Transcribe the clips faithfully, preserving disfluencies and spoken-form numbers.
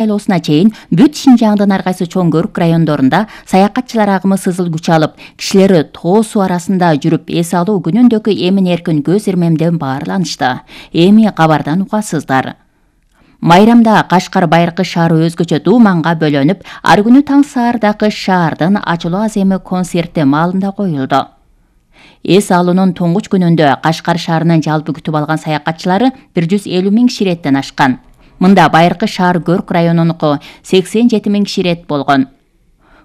шайлоосуна чейин бүт Шинжаңдын ар кайсы чоң көрүк райондорунда саякатчылар агымы сызыл күч алып, кишилери тоо суу арасында жүрүп эс алуу күнүндөгү эмин-эркин көз ирмемден баарланышты. Эми кабардан угасыздар. Майрамда Кашкар байыркы шаары өзгөчө дууманга бөлөнүп, ар күнү таң саардагы шаардын ачылуу аземи концерти маалында коюлду. Эс алуунун туңгуч күнүндө Кашкар шаарынын жалпы күтүп алган саякатчылары бир жүз элүү миң киши иреттен ашкан. Мында байыркы шаар көрк районунуку сексен жети миң киши ирет болгон.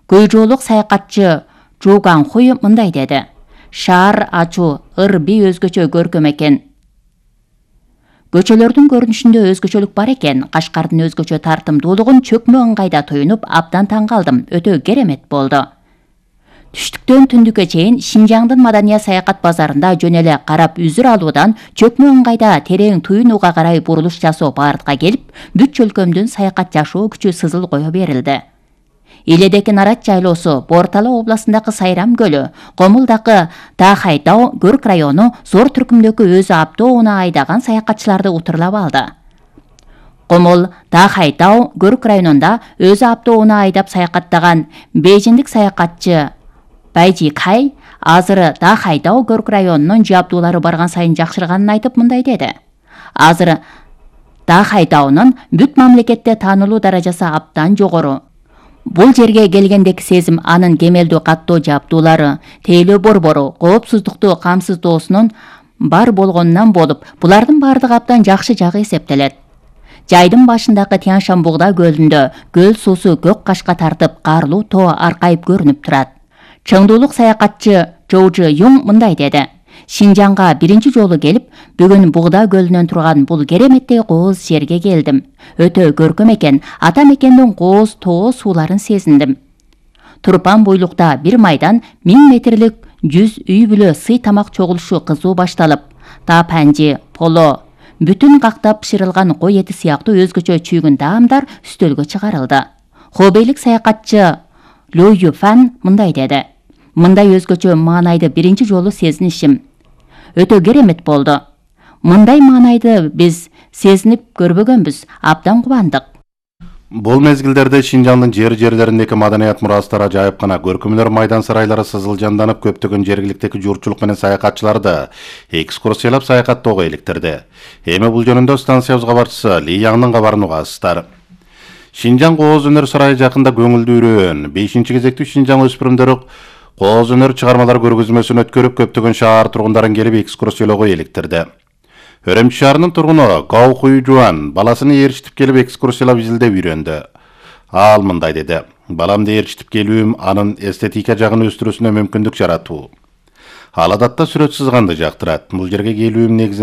Көйжоолук саякатчы Жуган Хуй мындай деди: "Шаар ачуу, ыр-би өзгөчө көркөм экен. Көчөлөрдүн көрүнүшүндө өзгөчөлүк бар экен. Кашкардын өзгөчө тартымдуулугун чөкмө ыңгайда тоюнуп, абдан таң калдым. Өтө керемет болду. Түштүктөн түндүккө чейин Шинжаңдын маданий саякат базарында жөн эле карап үзүр алуудан чөкмө ыңгайда терең туюнууга карай бурулуш жасоо бардыкка келип, бүт чөлкөмдүн саякат жашоо күчү сызыл кое берилди. Иледеки Нарат жайлоосу, Бортала областындагы Сайрам көлү, Комулдагы Дахай-Тау көрк району зор түркүмдөгү өзү автоунаа айдаган саякатчыларды утурлап алды. Комул Дахай-Тау көрк районунда өзү автоунаа айдап саякаттаган бейжиндик саякатчы Байжи Кай азыр Дахай-Тау көрк районунун жабдуулары барган сайын жакшырганын айтып мындай деди: "Азыр Дахай-Таунун бүт мамлекетте таанылуу даражасы абдан жогору. Бул жерге келгендеки сезим анын кемелдүү каттоо жабдуулары, тейлөө борбору, коопсуздукту камсыздоосунун бар болгонунан болуп, булардын бардыгы абдан жакшы жагы эсептелет. Жайдын башындагы Тянь-Шань-Бугда көлүндө көл суусу көк кашка тартып, карлуу тоо аркайып көрүнүп турат." Чыңдуулук саякатчы Жоужу Юң мындай деди: "Шинжаңга биринчи жолу келип, бүгүн Бугда көлүнөн турган бул кереметтей кооз жерге келдим. Өтө көркөм экен, ата мекендин кооз тоо сууларын сезиндим. Турпан буйлукта бир майдан миң метрлик жүз үй бүлө сый тамак чогулушу кызуу башталып, тапанжи, поло, бүтүн кактап бышырылган кой эти сыяктуу өзгөчө чүйгүн таамдар үстөлгө чыгарылды." Хобейлик саякатчы Лю Юфан мындай деди: "Мындай өзгөчө маанайды биринчи жолу сезинишим. Өтө керемет болду. Мындай маанайды биз сезинип көрбөгөнбүз, абдан кубандык." Бул мезгилдерде Шинжаңдын жер-жерлериндеки маданият мурастары жайып гана көркөмдөр майдан сарайлары сызыл жанданып, көптөгөн жергиликтеги журтчулук менен саякатчыларды экскурсиялап саякаттоого иликтирди. Эми бул жөнүндө станциябыз кабарчысы Ли Яңдын кабарын угасыздар. Шинжаң кооз өнөр сарайы жакында көңүлдүү үрөөн. бешинчи кезектүү Шинжаң өспүрүмдөрү кооз өнөр чыгармалар көргөзмөсүн өткөрүп, көптөгөн шаар тургундарын келип экскурсиялоого иликтирди. Өрөмчү шаарынын тургуну Гау Хуйжуан баласын ээрчитип келип экскурсиялап изилдеп үйрөндү. Ал мындай деди: "Баламды ээрчитип келүүм анын эстетика жагын өстүрүүсүнө мүмкүндүк жаратуу. Ал адатта сүрөт сызганды жактырат. Бул жерге келүүм негизинен